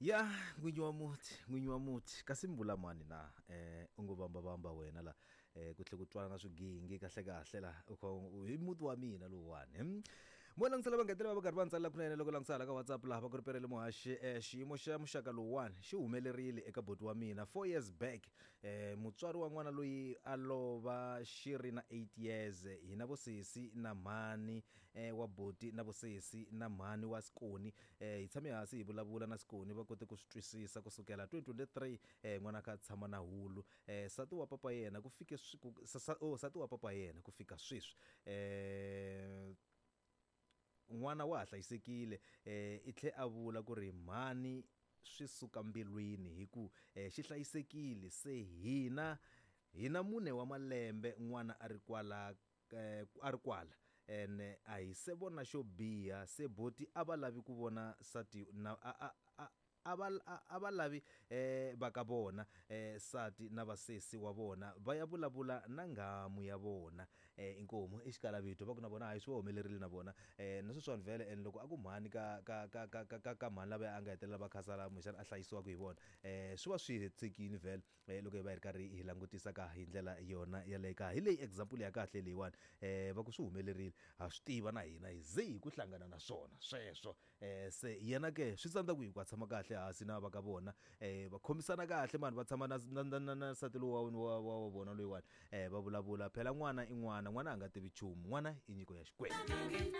Ya n'winyi wa muti, n'winyi wa muti kasi mi vula mani na u ngo vamba vamba wena la ku tlhe ku twala na swigingi kahle kahle la u kha hi muti wa mina lowuwani hmm? Mo langutisela va ngetela va va karhi va ntsalela kunene loko langutisa hala ka WhatsApp laha va ku ri perele muhaxi xiyimo xa muxaka lowuwani xi humelerile eka boti wa mina 4 years back mutswari wa n'wana loyi a lova xi ri na 8 years hina vosesi na mhani wa boti na vosesi na mhani wa Sikoni Hi tshame hansi hi vulavula na Sikoni va kote ku swi twisisa ku sukela 2023 n'wana a kha a tshama na hulu sati wa papa yena ku fike oh sati wa papa yena ku fika sweswi n'wana wa ha hlayisekile i tlhe a vula ku ri mhani swi suka mbilwini hi ku xi hlayisekile se hina hi na mune wa malembe n'wana a ri kwala a ri kwala ene a hi se vona xo biha se boti a va lavi ku vona sati na a a a a va a va lavi va ka vona sati na vasesi wa vona va ya vulavula na nghamu ya vona. Inkomu i xikalavito va ku na vona hayi swi va humelerile na vona na sweswiwani vhele and loko a ku mhani ka ka ka ka ka ka ka mhani lavaya a nga hetelela va khasala kumbexana a hlayisiwaka hi vona swi va swi hetisekile vhele. Loko hi va hi ri karhi hi langutisa ka hi ndlela yona yaleyo ka hi leyi example ya kahle leyiwani va ku swi humelerile ha swi tiva na hina hi ze hi ku hlangana na swona sweswo se yena ke swi tsandza ku hi ku a tshama kahle hansi na va ka vona va khomisana kahle mani va tshama na na na na na nsati lowu wa wa wa vona loyiwani va vulavula phela n'wana i n'wana n'wana a nga tivi nchumu n'wana i nyiko ya Xikwembu.